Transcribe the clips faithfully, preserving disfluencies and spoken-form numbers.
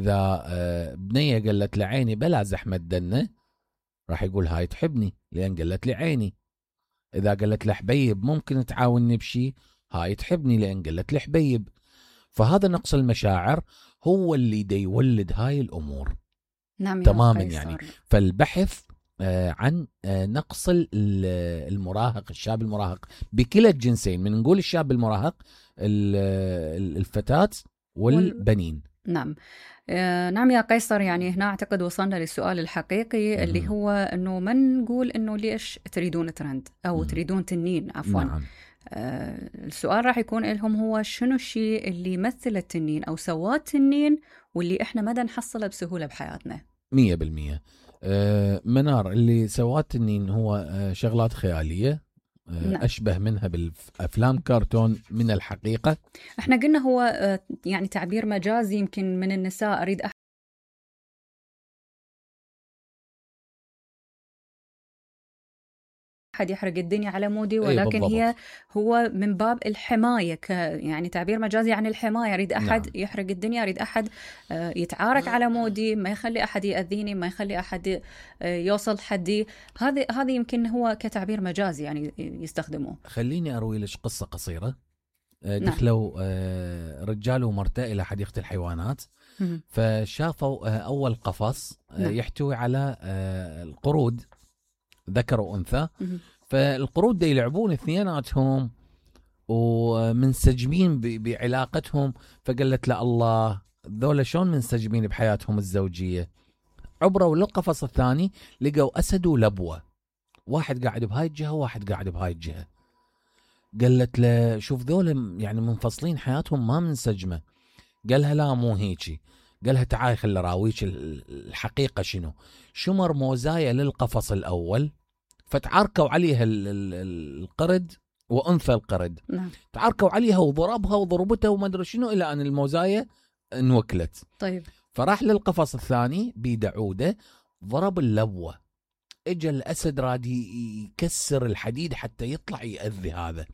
إذا بنية قالت لعيني بلا زحمة دنة، راح يقول هاي تحبني لأن قالت لي عيني. إذا قالت لحبيب ممكن تعاونني بشي، هاي تحبني لأن قالت لي حبيب. فهذا نقص المشاعر هو اللي دا يولد هاي الأمور. نعم تماما يعني. فالبحث عن نقص المراهق، الشاب المراهق بكلا الجنسين، من نقول الشاب المراهق الفتاة والبنين. نعم. آه نعم يا قيصر، يعني هنا أعتقد وصلنا للسؤال الحقيقي مم. اللي هو أنه من نقول أنه ليش تريدون ترند أو مم. تريدون تنين عفوا. نعم. آه السؤال راح يكون لهم هو شنو الشيء اللي يمثل التنين أو سواه التنين واللي إحنا مدى نحصله بسهولة بحياتنا. مية بالمية. آه منار، اللي سواه التنين هو آه شغلات خيالية، نعم. أشبه منها بالأفلام كرتون من الحقيقة. احنا قلنا هو يعني تعبير مجازي يمكن من النساء، أريد أحد يحرق الدنيا على مودي، ولكن أي هي هو من باب الحماية، ك يعني تعبير مجازي عن الحماية. أريد أحد نعم. يحرق الدنيا، أريد أحد يتعارك على مودي، ما يخلي أحد يأذيني، ما يخلي أحد يوصل حدي. هذه هذه يمكن هو كتعبير مجازي يعني يستخدمه. خليني أروي لك قصة قصيرة. دخلوا نعم. رجال ومرته إلى حديقة الحيوانات، مم. فشافوا أول قفص نعم. يحتوي على القرود ذكر وأنثى. مم. فالقرود دا يلعبون اثنيناتهم ومنسجمين بعلاقتهم. فقالت له الله، ذولا شلون منسجمين بحياتهم الزوجية؟ عبروا للقفص الثاني لقوا أسد ولبوة، واحد قاعد بهاي الجهة وواحد قاعد بهاي الجهة. قالت له شوف ذولا يعني منفصلين، حياتهم ما منسجمة. قالها لا مو هيجي. قالها تعالي خل راويك الحقيقة شنو. شمر موزايا للقفص الأول، فتعاركوا عليها القرد وأنثى القرد. نعم. تعاركوا عليها وضربها وضربتها وما أدري شنو إلى أن الموزايا انوكلت. طيب. فراح للقفص الثاني بيدعوده، ضرب اللبوة. اجى الأسد راد يكسر الحديد حتى يطلع يأذي هذا.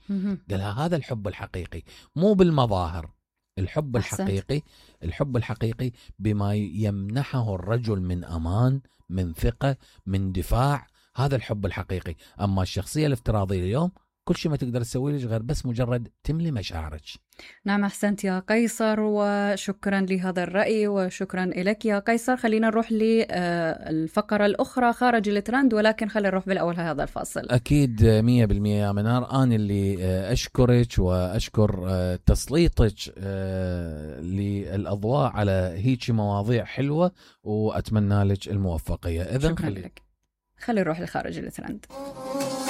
قالها هذا الحب الحقيقي، مو بالمظاهر. الحب أحسنت. الحقيقي الحب الحقيقي بما يمنحه الرجل من أمان، من ثقة، من دفاع. هذا الحب الحقيقي. أما الشخصية الافتراضية اليوم كل شيء ما تقدر تسوي ليش غير بس مجرد تملي مشاعرك. نعم أحسنت يا قيصر، وشكرا لهذا الرأي وشكرا لك يا قيصر. خلينا نروح للفقرة الأخرى خارج الترند، ولكن خلينا نروح بالأول هذا الفاصل. أكيد مية بالمية يا منار. أنا اللي أشكرك وأشكر تسليطك للأضواء على هيك مواضيع حلوة، وأتمنى لك الموفقية. إذن خلي خلينا نروح لخارج الترند.